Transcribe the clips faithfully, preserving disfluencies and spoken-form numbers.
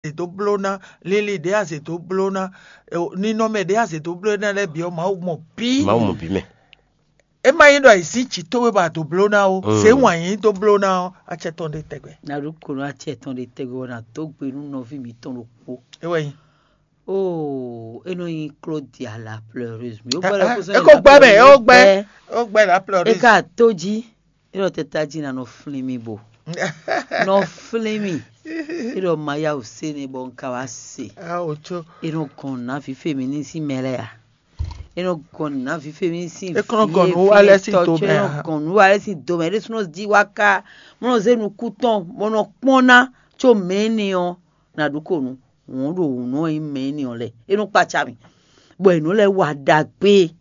azě dó bló ná, linlin ɖě azě dó bló ná, ninɔmɛ ɖě azě dó bló ná lɛ́ɛ bǐ ɔ́, Mawu mɔ bǐ. Mawu mɔ bǐ mɛ. É má nyí ɖɔ è sín jǐ towe bɔ a dǒ bló ná ó, zě wǎn yí dó bló ná ɔ́, acɛ tɔn ɖe tɛgbɛ. Na ɖó ko nú acɛ tɔn ɖe tɛgbɛ ɔ́, na dó gbe nú nɔví mǐtɔn ɖokpó. É wɛ nyí. Óo, é nɔ nyí Claudia la pleureuse. Mi ó gbɛ́ lɔ kó sɔ́ é kó gbɛ́ mɛ, é ó gbɛ́, é ó gbɛ́ la é pleureuse. Ka tó jí, é ɖɔ tɛ tají ná nɔ flín mì bo. Nɔ flín mì. É ɖɔ ma yá wǔ sé nɛ bɔ un ka wá se. Awo tso. É nɔ gɔn nǔ ná fífé mi ní sín mɛ lɛ́ɛ a? É nɔ gɔn nǔ ná fífé mi ní sín É kɔn nɔ gɔn nǔ wa lɛ́ɛ sín do mɛ a? É nɔ gɔn nǔ wa lɛ́ɛ sín do mɛ. É ɖésúnɔ jí wá ká mɔ nɔ zé nukún tɔn bɔ nɔ kpɔ́n ná có mɛ énɛ́ ɔ́, nǎ ɖu ko nǔ. Wǔn ɖo wǔ nɔ nyí mɛ énɛ́ ɔ́ lɛ́ɛ. É nɔ kpaca mì, bɔ è nǔ lɛ́ɛ wa ɖagbe.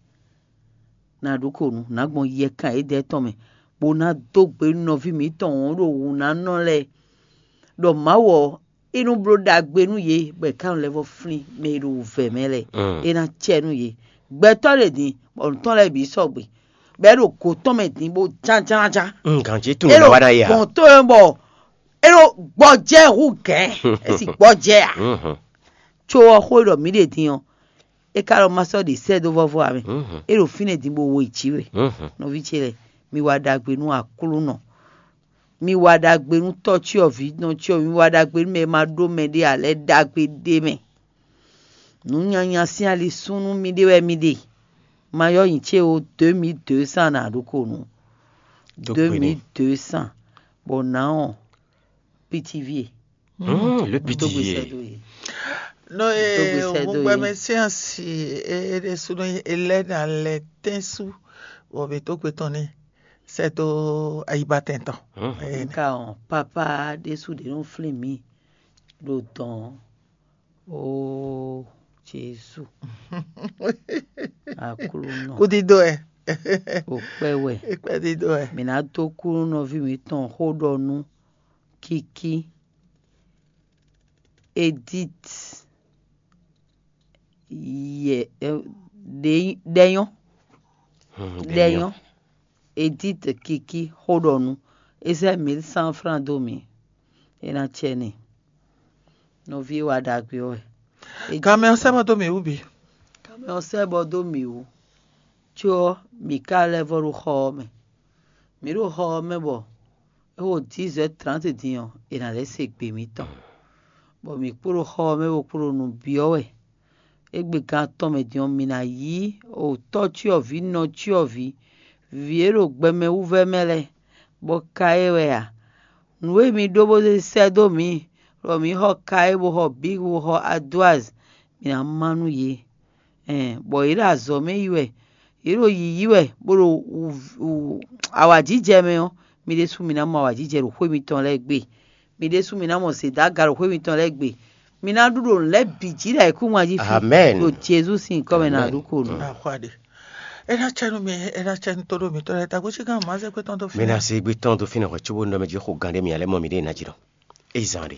Nǎ ɖu ko nǔ, nǎ gbɔn yɛkan édɛɛ tɔn mɛ, bó ná dó gbe nú nɔví mǐtɔn wǔn ɖo wǔ ná nɔ lɛ́ɛ, ɖɔ Mawu ɔ́, é nú bló ɖagbe nú yě, bɔ è ká nɔ lɛ́ vɔ́ flín mɛ e ɖo wǔvɛ́ mɛ lɛ́ɛ, é ná cɛ nú yě. Gbɛtɔ́ ɖě din, bɔ nǔ tɔn lɛ́ɛ bǐ sɔgbe, bɔ é ɖo gǒ tɔn mɛ din bó jánjánjá. Gǎn ce tunwun É ɖo wa ná ya. Gbɔn tó e bɔ é ɖo gbɔjɛ́ hú gɛ̌, é sì gbɔjɛ́ ǎ. Có ɔ́ xó e ɖɔ mǐ ɖe din ɔ́, é ka ɖɔ ma sɔ́ ɖi sɛ́ dó vɔ́vɔ́ ǎ mɛ. É ɖo fínɛ́ din bó wo yi jǐ we. Nɔví ce lɛ́ɛ, mi wa ɖagbe nú Aklúnɔ. Mi wa ɖagbe nú tɔ́ cyɔ́vǐ nɔ cyɔ́vǐ, mi wa ɖagbe nú mɛ e ma ɖó mɛ ɖé ǎ lɛ́ɛ ɖagbe ɖ'é mɛ. Nǔ nyanya sín ali súnnu mi ɖe wɛ mi ɖe. Ma yɔ́ nyi ce ó, deux mille deux cents ná ɖo ko nú. Dó gbe n'i. Deux mille deux cents. Bɔ nǎ ɔ́, pitiví e. Hmm, le Dó gbe sɛ́ pitié. Dó ye. No Dó gbe e sɛ́ dó ògúngbɛ ye. Mɛ sín asi é ɖésúnɔ é lɛ́ ná lɛ tɛ́n sú, bɔ mǐ dó gbe tɔn n'i sɛ́ dó ayibatɛn tɔn. Hmm. Ɛ, Nka ɔn, papa ɖésú ɖě nɔ flín mǐ ɖo dɔn. Ó, Jezu. Aklúnɔ. Kúdídó ɛ. Ò kpɛ́ wɛ. Kpɛdídó ɛ. Mǐ ná dó kú nú nɔví mǐtɔn xó ɖɔ nú Kiki, Edith, yɛ, ɛ, ɖe- ɖɛnyɔ́, Hmm, ɖɛnyɔ́, Edith Kiki xó ɖɔ nú, é sɛ́ mil cent franc dó mì, é ná cɛ n'i. Nɔví e wa ɖagbe ɔ́ wɛ. Gamɛ ɔ́ sɛ́ bɔ dó mǐ wú bǐ. Gamɛ ɔ́ sɛ́ bɔ dó mǐ wú, có ɔ́, mǐ ka lɛ́ vɔ ɖo xɔ ɔ́ mɛ. Mǐ ɖo xɔ ɔ́ mɛ bɔ é xo dix heures trente din ɔ́, è nǎ lɛ́ se gbe mǐtɔn, bɔ mǐ kpo ɖo xɔ ɔ́ mɛ bó kpo ɖo nǔ byɔ́ wɛ. Égbé gan atɔn mɛ din ɔ́, mǐ ná yí otɔ́ cyɔ́vǐ nɔ cyɔ́vǐ, vǐ e ɖo gbɛmɛ wú vɛ́ mɛ lɛ́ɛ, bɔ ka é wɛ a? Nǔ e mi ɖó bó zé sɛ́ dó mǐ, bɔ mǐ xɔ ka é bó xɔ bǐ bó xɔ adwaz, mǐ ná má nú yě. Ɛn, bɔ yě ɖo azɔ̌ mɛ yi wɛ, yě ɖo yǐyí wɛ, bó ɖo awǎjijɛ mɛ ɔ́, mi ɖésú mi ná mɔ awǎjijɛ ɖo xwé mitɔn lɛ́ɛ gbe. Mi ɖésú mi ná mɔ zědaga ɖo xwé mitɔn lɛ́ɛ gbe. Mi ná ɖu ɖo nǔ lɛ́ɛ bǐ jí ɖo ayǐkúngban jí fi. Amɛn. Ɖo Jezu sín nyǐkɔ mɛ ná ɖu ko nú. Ahwaɖe. É ná cɛ nú mi, é ná cɛ nú tóɖó mitɔn lɛ́ɛ. Tagbó cí gán mǎ zɛ gbé tɔn dó fínɛ́. Mi ná se gbé tɔn dó fínɛ́ hwɛ̌ cóbó nɔ mɛ jí xo gán ɖé mi ǎ lɛ́ mɔ mi ɖée ná jí ɖɔ. É zán ɖe.